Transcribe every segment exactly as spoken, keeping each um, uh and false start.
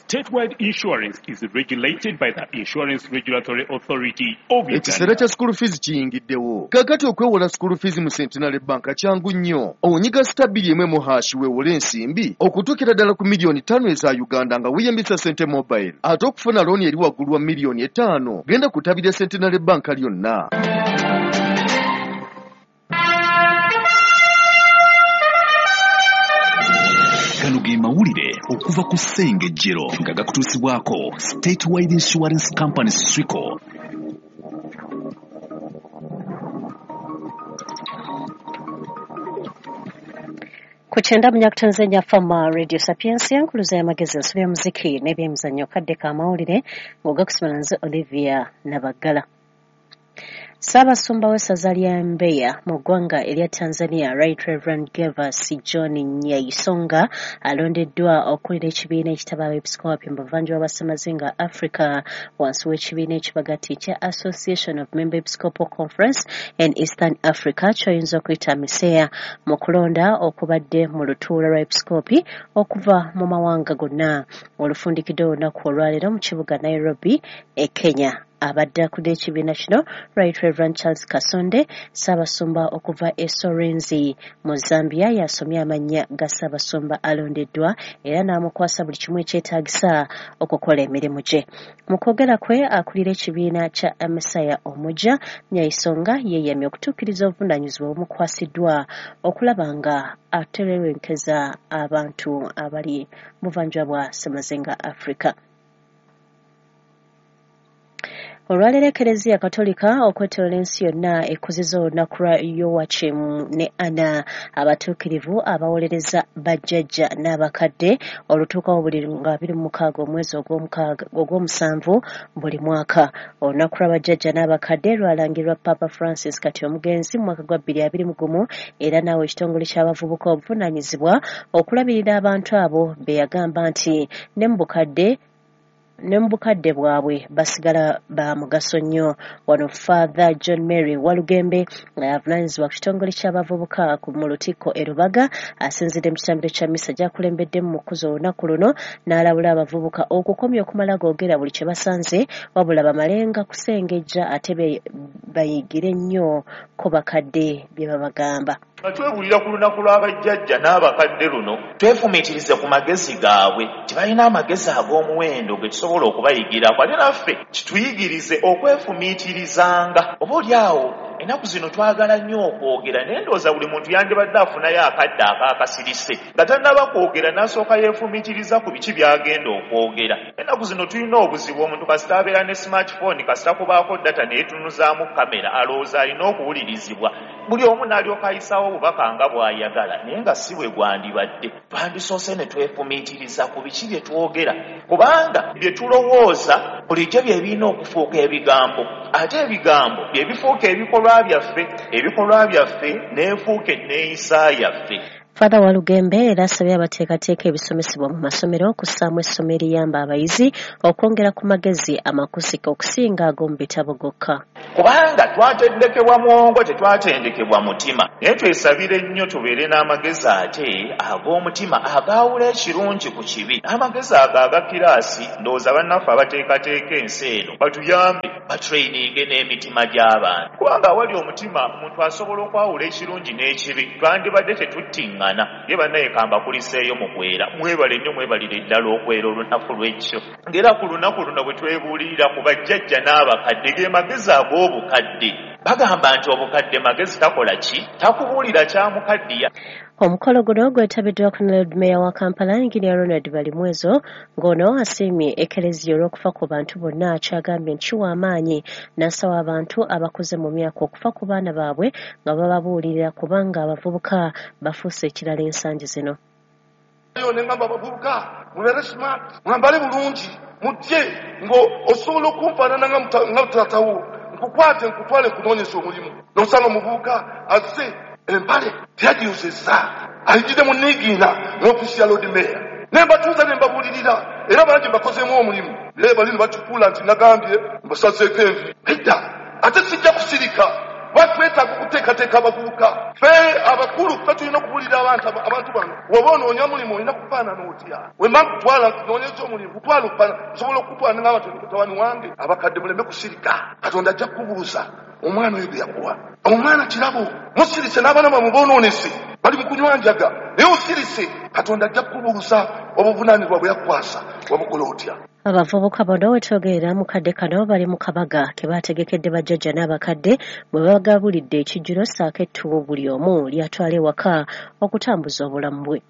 Statewide Insurance is regulated by the Insurance Regulatory Authority of Uganda. Ekiseera kya school fees kiyingiddewo. Kaakati okwewola school fees mu Centenary Bank kyangu nnyo. Onyiga star bbiri emu emu hash weewole ensimbi okutuukira ddala ku miliyoni ttaano eza Uganda nga weeyambisa Sente Mobile. Ate okufuna looni eri waggulu wa miliyoni etaano genda ku ttabi lya Centenary Bank lyonna. Gano ge mawulire okuva ku Ssengejjero nga gakutuusibwako Statewide Insurance Company Swico. Ku kyenda munyakutonze Fama Radio Sapiensia nkuluza y'amagezi ensobi ya muziki n'ebyemizannyo kadde k'amawulire ng'ogakusomera nze Olivia Nabaggala. Ssaabasumba w'essaza lya Mbeya mu ggwanga erya Tanzania, Right Reverend Gervas John Nyaisonga alondeddwa okukulira ekibiina ekitaba abeepisikoopi mu buvanjuba bwa Ssemazinga Africa wansi w'ekibiina ekibagatta ekya Association of Member Episcopal Conference in Eastern Africa ky'oyinza okuyita AMECEA mu kulonda okubadde mu lutuula lwa episikoopi okuva mu mawanga gonna olufundikidde olunaku olwaleero mu kibuga Nairobi e Kenya. Abadde akulira ekibiina kino Right Reverend Charles Kasonde Ssaabasumba okuva e Sorenzi mu Zambia yasomye amannya ga Ssaabasumba alondeddwa era n'amukwasa buli kimu ekyetaagisa okukola emirimu gye. Mu kwogera kwe akulira ekibiina kya AMECEA omuggya Nyaisonga yeeyamye okutuukiriza obuvunaanyizibwa obumukwasiddwa okulaba nga aterewenkeza abantu abali mu buvanjuba bwa Ssemazinga Africa. Olwaleero Ekereziya Katolika okwetooloola ensi yonna ekuzizza olunaku lwa Yowakimu ne Ana abatuukirivu abawolereza bajjajja n'abakadde olutuukawo buli nga abiri mu mukaaga omwezi ogw'omusanvu buli mwaka. Olunaku lwa bajjajja n'abakadde lwalangirwa Papa Francis kati omugenzi mu mwaka gwa bbiri abiri mu gumu era naawe ekitongole ky'abavubuka obuvunaanyizibwa okulabirira abantu abo be yagamba nti ne mu bukadde ne mu bukadde bwabwe basigala ba mugaso nnyo. Wano Father John Mary Walugembe nga avunaanyizibwa ku kitongole ky'abavubuka mu Lutikko e Rubaga asinzidde mu kitambiro kya mmisa gy'akulembeddemu mu kukuza olunaku luno n'alabula abavubuka okukomya okumala googera buli kye basanze wabula bamalenga kusengejja ate bayigire nnyo ko bakadde bye babagamba. Nga twewulira ku lunaku lw'abajjajja n'abakadde luno twefumiitirize ku magezi gaabwe tibalina amagezi ag'omuwendo ge tusobola okubayigirako ate naffe kituyigirize okwefumiitirizanga. Oba oli awo ennaku zino twagala nnyo okwogera naye ndowooza buli muntu yandibadde afunayo akadde akaakasirise nga tannaba kwogera n'asooka yeefumiitiriza ku biki by'agenda okwogera. Ennaku zino tulina obuzibu omuntu kasita abeera ne smartphone kasita kubaako data neyetunuzaamu kamera alowooza alina okuwulirizibwa buli omu n'alyoka ayisaawo obubaka nga bw'ayagala naye nga si bwe gwandibadde. Twandisoose ne twefumiitiriza ku biki bye twogera kubanga bye tulowooza bulijjo bye birina okufuuka ebigambo ate ebigambo bye bifuuka ebikolwa byaffe ebikolwa byaffe n'enfuuka enneeyisa yaffe. Father Walugembe era asabye abateekateeka ebisomesebwa mu masomero okussaamu essomo eriyamba abayizi okwongera ku magezi amakusike okusinga ag'omu bitabo gokka. Kubanga twatendekebwa mwongo tetwatendekebwa mutima naye twesabire nnyo tubeere n'amagezi ate ag'omutima agaawula ekirungi ku kibi. Amagezi ago aga kiraasi ndowooza bannaffe abateekateeka ensi eno batuyambe batraininge n'emitima gy'abantu kubanga awali omutima omuntu asobola okwawula ekirungi n'ekibi twandibadde tetuttiŋŋana. Ye bannaye kambakuliseeyo mu kwera mwebale nnyo mwebalire ddala okwera olunaku lw'ekyo ng'era ku lunaku luno bwe twebuulirira ku bajjajja n'abakadde ge magezi ag'obukadde bagamba nti obukadde magezi takola ki takubuulira kyamukaddiya. Omukolo guno gwetabiddwako ne Lord Mayor wa Kampala Engineer Ronald Balimwezo ng'ono asiimye Ekereziya olw'okufa ku bantu bonna kyagambye nti kiwa amaanyi n'asaba abantu abakuze mu myaka okufa ku baana baabwe nga bababuulirira kubanga abavubuka bafuuse ekirala ensangi zino. Ne ngamba abavubuka mubeere smart mwambale bulungi mujje ng'osobola okunfaanana nga taatawo nkukwate nkutwale nkunoonyesa omulimu n'osanga omuvubuka azze empale teyagiyozezza ayigidde mu niigiina mu ofiisi ya Lord Mayor ne mbatuuza ne mbabuulirira era bangi mbakozeemu omulimu naye bali ne bakifuula nti nagambye mbasazeeko envi edda ate sijja kusirika Batwetaaga okuteekateeka abavubuka. Ffe abakulu ffe tulina okubuulira abantu abantu bano, woba onoonya mulimu olina kufaanana otya? Wemba nkutwala nkunoonyeza omulimu, kutwala okufaanana, nsobola okukutwala ne ngamba nti mutabani wange, abakadde muleme kusirika. Katonda ajja kukubuuza omwana oyo gwe yakuwa. Omwana kirabo, musirise n'abaana bammwe boonoonese, bali mu kunywa njaga, naye osirise, Katonda ajja kukubuuza obuvunaanyizibwa bwe yakukwasa, wabukola otya? Abavubuka bano wetwogerera mu kadde kano bali mu kabaga ke baategekedde bajjajja n'abakadde bwe bagabulidde ekijjulo ssaako ettu buli omu ly'atwala ewaka okutambuza obulamu bwe.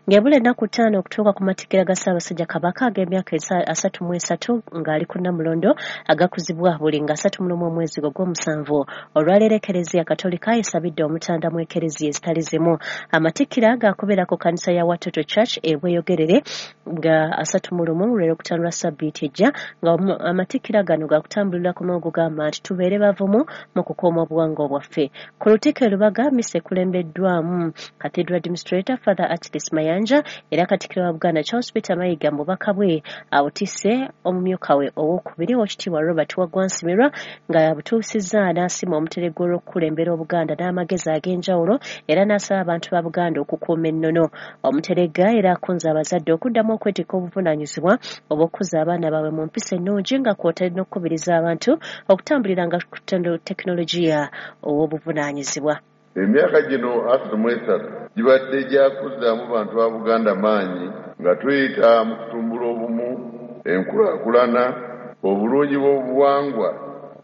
Ng'ebula ennaku ttaano okutuuka ku matikkira ga Ssaabasajja Kabaka ag'emyaka asatu mu esatu ng'ali ku Nnamulondo agakuzibwa buli nga asatu mu lumu omwezi ogw'omusanvu. Olwaleero Ekereziya Katolika esabidde omutanda mu ekereziya ezitali zimu. Amatikkira gaakubeera ku kkanisa ya Watoto Church e Bweyogerere nga asatu mu lumu lw'olwokutaano lwa ssabbiiti ejja, nga amatikkira gano gaakutambulira ku mulogo gugamba nti tubeere bavumu mu kukuuma obuwangwa bwaffe. Ku Lutikko e Lubaga mmisa ekulembeddwamu Cathedral Administrator Father Achilles Mayanja era Katikkiro wa Buganda Charles Peter Mayiga mu bubaka bwe abutisse omumyuka we owookubiri Oweekitiibwa Robert Waggwa Nsibirwa nga yabutuusizza n'asiima omuteregga olw'okukulembera Obuganda n'amagezi ag'enjawulo era n'asaba abantu ba Buganda okukuuma ennono. Omuteregga era akunze abazadde okuddamu okwetikka obuvunaanyizibwa obw'okukuza abaana baabwe mu mpisa ennungi nga kw'otadde n'okukubiriza abantu okutambuliranga ku tekinologiya ow'obuvunaanyizibwa. Emyaka gino asatu mu esatu gibadde gya kuzzaamu bantu ba Buganda maanyi nga tuyita mu kutumbula obumu, enkulaakulana, obulungi bw'obuwangwa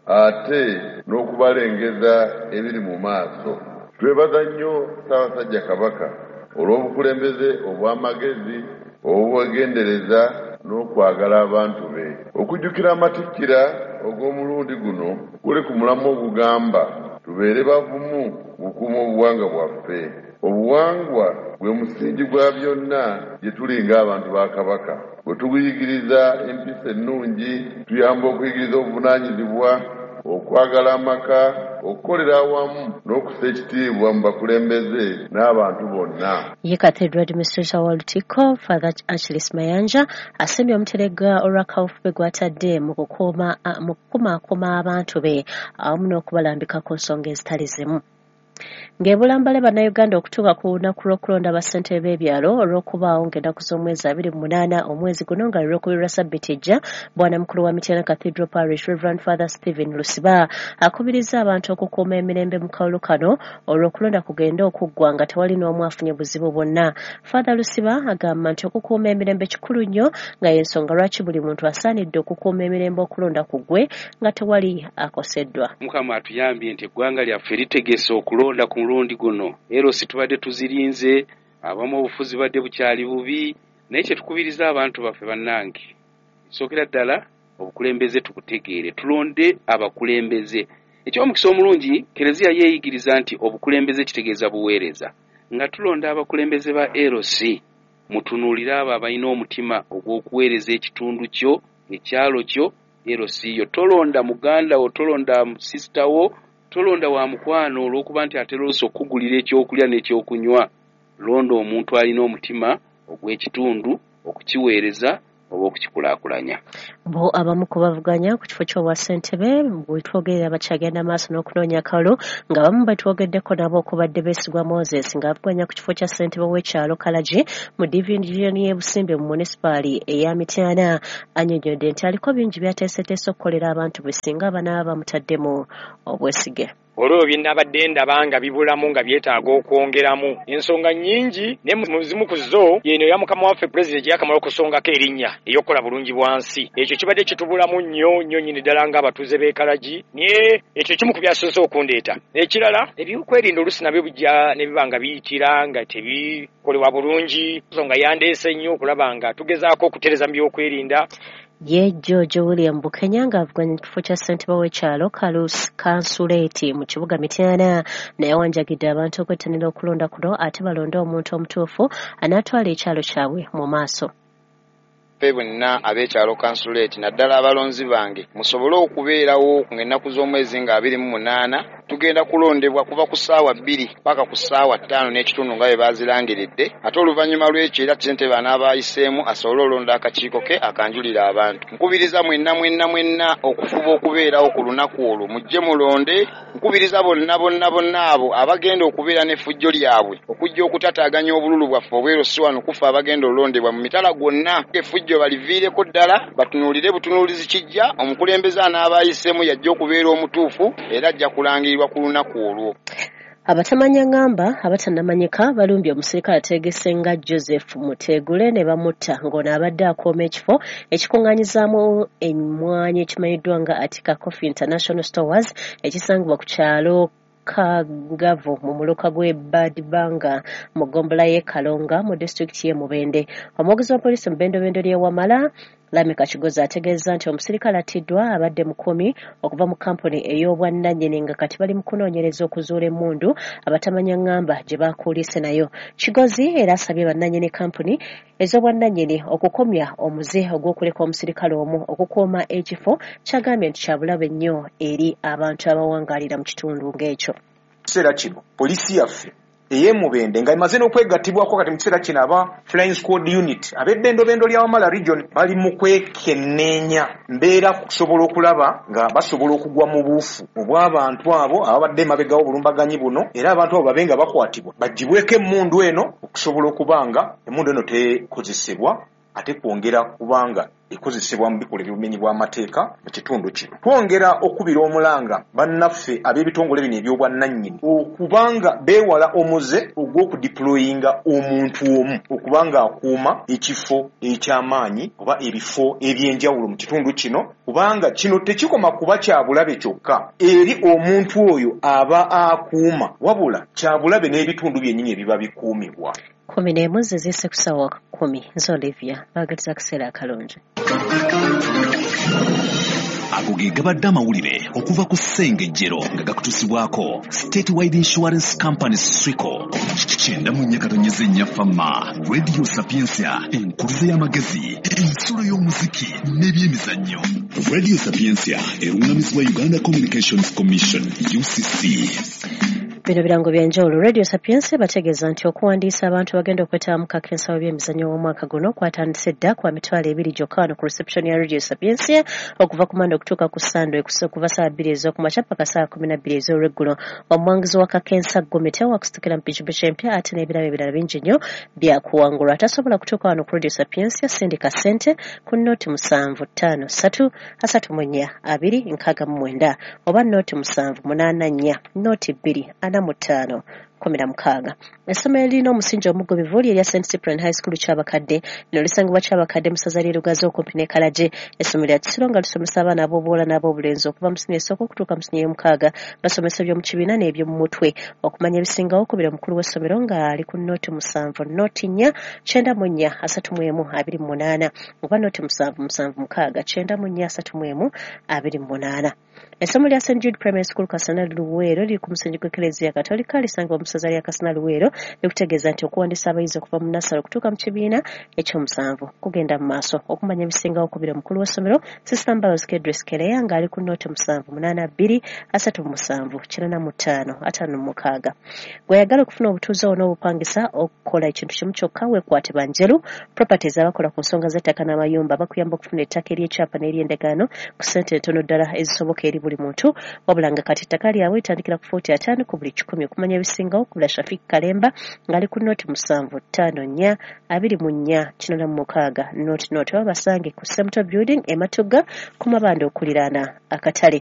ate n'okubalengeza ebiri mu maaso. Twebaza nnyo Ssaabasajja Kabaka olw'obukulembeze obw'amagezi, obwegendereza n'okwagala abantu be. Okujjukira amatikkira ogw'omulundi guno guli ku mulamwa ogugamba tubeere bavumu mu kukuuma obuwangwa bwaffe. Obuwangwa gwe musingi gwa byonna gye tuli ng'abantu ba Kabaka. Bwe tuguyigiriza empisa ennungi, tuyamba okuyigiriza obuvunaanyizibwa, okwagala amaka, okukolera awamu n'okussa ekitiibwa mu bakulembeze n'abantu bonna. Ye Cathedral Administrator wa Lutikko Father Achilles Mayanja asiimye omuteregga olwa kaweefube gw'atadde mu kukuuma mu kukumaakuma abantu be awamu n'okubalambika ku nsonga ezitali zimu. Ng'ebula mbale bannayuganda okutuuka ku lunaku lw'okulonda bassentebe b'ebyalo olw'okubaawo ng'ennaku z'omwezi abiri mu munaana omwezi guno nga lwokubiri lwa ssabbiiti ejja, bwana mukulu wa Mityana Cathedral Parish Reverend Father Stephen Lusiba akubirizza abantu okukuuma emirembe mu kalulu kano olw'okulonda kugenda okuggwa nga tewali n'omu afunye buzibu bwonna. Father Lusiba agamba nti okukuuma emirembe kikulu nnyo nga y'ensonga lwaki buli muntu asaanidde okukuuma emirembe okulonda kuggwe nga tewali akoseddwa. Mukama atuyambye nti eggwanga lyaffe litegese okulonda ku mulundi guno. Ero si tubadde tuzirinze, abamu obufuzi badde bukyali bubi, naye kye tukubiriza abantu baffe bannange, sookera ddala obukulembeze tubutegeere, tulonde abakulembeze. Eky'omukisa omulungi, Kereziya yeeyigiriza nti obukulembeze kitegeeza buweereza. Nga tulonda abakulembeze ba L C, mutunuulire abo abalina omutima ogw'okuweereza ekitundu kyo, ekyalo kyo, L C yo. Tolonda muganda wo, tolonda sisita wo, tolonda wa mukwano olw'okuba nti atera oluusi okukugulira ekyokulya n'ekyokunywa. Londa omuntu alina omutima ogw'ekitundu okukiweereza oba okukikulaakulanya. Bo abamu ku bavuganya ku kifo ky'obwassentebe bwe twogerera bakyagenda maaso n'okunoonya akalulu nga abamu betwogeddeko nabo okubadde Besigwa Moses ng'avuganya ku kifo kya ssentebe w'ekyalo Kalagi mu divizoni y'e Busimbe mu munisipaali eya Mityana annyonnyodde nti aliko bingi by'ateeseteese okukolera abantu bwe singa banaaba bamutaddemu obwesige. Olwo bye nabadde ndaba nga bibulamu nga byetaaga okwongeramu ensonga nnyingi, ne mu zimu ku zo y'eno ya mukama waffe pulezidenti yakamala okusongako erinnya ey'okukola bulungi bwansi. Ekyo kibadde kitubulamu nnyo nnyo nnyini ddala ng'abatuuze b'e Kalagi, naye ekyo kimu ku byasoose okundeeta. Ekirala, ebyokwerinda oluusi nabyo bijja ne biba nga biyitira nga tebikolebwa bulungi, ensonga yandeese nnyo okulaba nga tugezaako okutereeza mu byokwerinda. Ye George William Bukenya ng'avuganya ekifo kya ssentebe w'ekyalo Kansuleeti mu kibuga Mityana naye awanjagidde abantu okwettanira okulonda kuno ate balonde omuntu omutuufu anaatwala ekyalo kyabwe mu maaso. Ffe bwenna ab'ekyalo Kansuleeti naddala abalonzi bange musobole okubeerawo ng'ennaku z'omwezi nga abiri mu munaana Tugenda kulondebwa kuva ku ssaawa bbiri paka ku ssaawa ttaano n'ekitundu nga bwe bazirangiridde, ate oluvannyuma lw'ekyo era ssentebe anaaba ayiseemu asobole olonda akakiiko ke akanjulira abantu. Nkubiriza mwenna mwenna mwenna okufuba okubeerawo ku lunaku olwo, mujje mulonde. Nkubiriza bonna bonna bonna abo abagenda okubeera n'effujjo lyabwe okujja okutataaganya obululu bwaffe obweru si wano kufa abagenda olondebwa mu mitala gwonna, effujjo baliviireko ddala, batunuulire butunuulizi kijja. Omukulembeze anaaba ayiseemu yajja okubeera omutuufu era ajja kulangirirwa ku lunaku olwo. Abatamanya ngamba abatannamanyika balumbye omusirikale ateegese nga Joseph Mutegule ne bamutta ng'ono abadde akuuma ekifo ekikuŋŋaanyizaamu emmwanyi ekimanyiddwa nga Atika Coffee International Stores ekisangibwa ku kyalo Kagavu mu muluka gw'e Badibanga mu ggombolola y'e Kalonga mu disitulikiti y'e Mubende. Omwogezi wa poliisi mu bbendobendo ly'e Wamala Lameka Kigozi ategeeza nti omusirikale attiddwa abadde mukumi okuva mu kampuni ey'obwannannyini nga kati bali mu kunoonyereza okuzuula emmundu abatamanya ngamba gye bakuulise nayo. Kigozi era asabye bannannyini kampuni ez'obwannannyini okukomya omuze ogw'okuleka omusirikale omu okukuuma ekifo kyagambye nti kya bulabe nnyo eri abantu abawangaalira mu kitundu ng'ekyo. Kiseera kino poliisi yaffe ey'e Mubende nga emaze n'okwegattibwako kati mu kiseera kino aba Flying Squad Unit ab'ebbendobendo lya Wamala Region bali mu kwekenneenya mbeera kusobola okulaba nga basobola okugwa mu buufu obw'abantu abo ababadde emabega w'obulumbaganyi buno, era abantu abo babe nga bakwatibwa baggyibweko emmundu eno okusobola okuba nga emmundu eno tekozesebwa ate kwongera kubanga ekozesebwa mu bikolwa eby'obumenyi bw'amateeka mu kitundu kino. Twongera okubira omulanga bannaffe ab'ebitongole bino eby'obwannannyini okubanga beewala omuze ogw'okudiployinga omuntu omu okubanga akuuma ekifo eky'amaanyi oba ebifo eby'enjawulo mu kitundu kino, kubanga kino tekikoma kuba kya bulabe kyokka eri omuntu oyo aba akuuma, wabula kya bulabe n'ebitundu byennyini ebiba bikuumibwa. Kumi n'emu ze ziyise ku ssaawa kkumi. Nze Olivia, baagaliza akaseera akalungi. Ago ge gabadde amawulire okuva ku Ssengejjero nga gakutuusibwako Statewide Insurance Company Swico. Kyenda mu nnya katonyeze nnya Fama, Radio Sapientia, enkuluze y'amagezi, ensulo y'omuziki n'ebyemizannyo. Radio Sapientia eruŋŋamizibwa Uganda Communications Commission U C C. Bino birango bya njawulo. Radio Sapientia bategeeza nti okuwandiisa abantu bagenda okwetaba mu kakensa w'ebyemizannyo w'omwaka guno kwatandise dda kwa mitwalo ebiri gyokka wano ku reception ya Radio Sapientia okuva ku Mande okutuuka ku Sande okuva ssaawa bbiri ez'okumakya paka ssaawa kumi na bbiri ez'olweggulo. Omuwanguzi wa kakensa Gomete wakusitukira mu pikipiki empya ate n'ebirabo ebirala bingi nnyo byakuwangulwa. Atasobola kutuuka wano ku Radio Sapientia sindika ssente ku noti musanvu ttaano ssatu asatu mu nnya abiri nkaaga mu mwenda oba noti musanvu munaana nnya noti bbiri ana mu ttaano kumi na mukaaga. Essomero lirina omusingi omugobevu erya Saint Cyprian High School Kyabakadde. Lino lisangibwa Kyabakadde mu ssaza ly'e Lugazi okumpi n'e Kalagi. Essomero lya kisiro nga lisomesa abaana ab'obuwala n'ab'obulenzi okuva mu siniya esooka okutuuka mu siniya ey'omukaaga. Basomesa eby'omu kibiina n'eby'omu mutwe. Okumanya ebisingawo kubira omukulu w'essomero ng'ali ku noti musanvu noti nnya kyenda mu nnya asatu mu emu abiri mu munaana oba noti musanvu musanvu mukaaga kyenda mu nnya asatu mu emu abiri mu munaana. Essomero lya Saint Jude Primary School Kasana Luweero liri ku musingi gw'Eklezia Katolika lisangibwa mu ssaza lya Kasana Luweero likutegeeza nti okuwandiisa abayizi okuva mu nasale okutuuka mu kibiina ekyomusanvu kugenda mu maaso. Okumanya ebisingawo kubira omukulu w'essomero Sister Mbalos Kedris Kereya ng'ali ku noti musanvu munaana bbiri asatu mu musanvu kinaana mu ttaano ataano mu mukaaga. Gw'ayagala okufuna obutuuze awo n'obupangisa okukola ekintu kimu kyokka weekwate Banjeru Properties abakola ku nsonga z'ettaka n'amayumba bakuyamba okufuna ettaka ery'ekyapa n'ery'endagaano ku ssente entono ddala ezisoboka eri buli muntu, wabula nga kati ettaka lyabwe litandikira ku fuuti ataano ku buli kikumi. Okumanya ebisingawo kubula Shafik Kalemba ng'ali ku noti musanvu ttaano nnya abiri mu nnya kinaana mu mukaaga noti noti oba basange ku Semto Building e Matugga ku mabanda okuliraana akatale.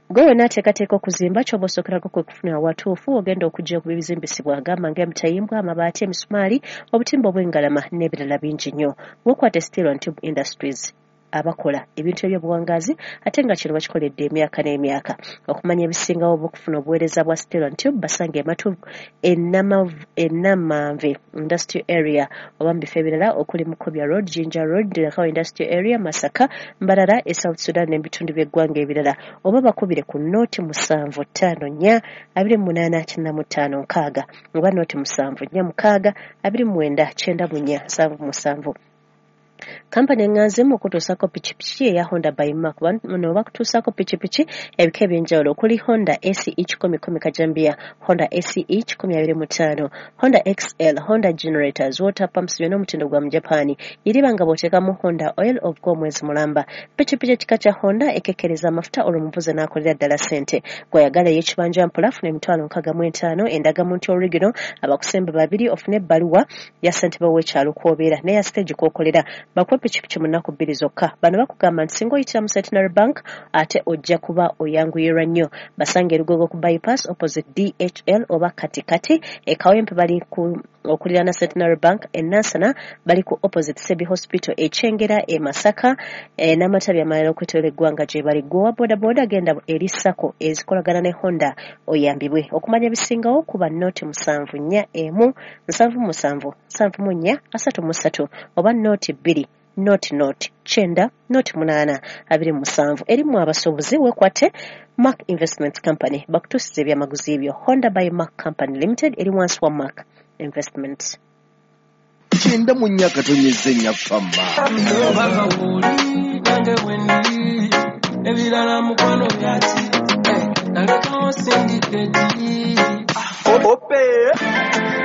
Gwe wenna ateekateeka okuzimba ky'oba osookerako kwe kufuna awatuufu ogenda okujja ku bizimbisibwa agamba ng'emitayimbwa, amabaati, emisumaali, obutimba obw'engalama n'ebirala bingi nnyo. Weekwate Steel and Tube Industries abakola ebintu eby'obuwangaazi ate nga kino bakikoledde emyaka n'emyaka. Okumanya ebisingawo oba okufuna obuweereza bwa Steel and Tube basange Ematu Ennamanve Industrial Area oba mu bifo ebirala okuli Mukobya Road, Jinja Road, Nakawa Industrial Area, Masaka, Mbarara, e South Sudan n'ebitundu by'eggwanga ebirala oba bakubire ku noti musanvu ttaano nnya abiri mu munaana kyenda mu ttaano nkaaga oba noti musanvu nnya mukaaga abiri mu mwenda kyenda mu nnya nsanvu musanvu. Kampani eŋŋanze mu okutuusaako pikipiki eya Honda by Mark. Bano bakutuusaako pikipiki ebika eby'enjawulo okuli Honda A C E kikumi kumi kajambiya, Honda A C E kikumi abiri mu ttaano, Honda X L, Honda generators, water pumps byonna omutindo gwa mu Japan. Iriba nga bw'oteekamu Honda oil ovuga omwezi mulamba. Pikipiki ekika kya Honda ekekkereza amafuta olwo omuvuzi n'akolera ddala ssente. Gw'oyagala ey'ekibanja mpola funa emitwalo nkaaga mu etaano, endagamuntu original, abakusemba babiri ofune ebbaluwa ya ssentebe w'ekyalo kw'obeera n'eya siteegi kw'okolera. Bakuwe pikipiki mu nnaku bbiri zokka. Bano bakugamba nti singa oyitira mu Centenary Bank ate ojja kuba oyanguyirwa nnyo. Basange e Lugogo ku bypass opposite D H L oba katikati. E Kawempe bali ku okuliraana Centenary Bank, e Nansana bali ku opposite Sebi Hospital, e Kyengera, e Masaka, e n'amatabi amalala okwetooloola eggwanga gye bali. Ggwe owa boodabooda genda eri SACCO ezikolagana ne Honda oyambibwe. Okumanya ebisingawo kuba noti musanvu nnya emu nsanvu musanvu nsanvu mu nnya asatu mu ssatu oba noti bbiri noti noti kyenda noti munaana abiri mu musanvu. Erimu abasuubuzi weekwate Mark Investment Company bakutuusiza ebyamaguzi byo. Honda by Mark Company Limited eri wansi wa Mark Investment. Kyenda mu nnya katonyeze nnya fama. Ebirala mukwano byaki nalekawo sindikedi. Ope.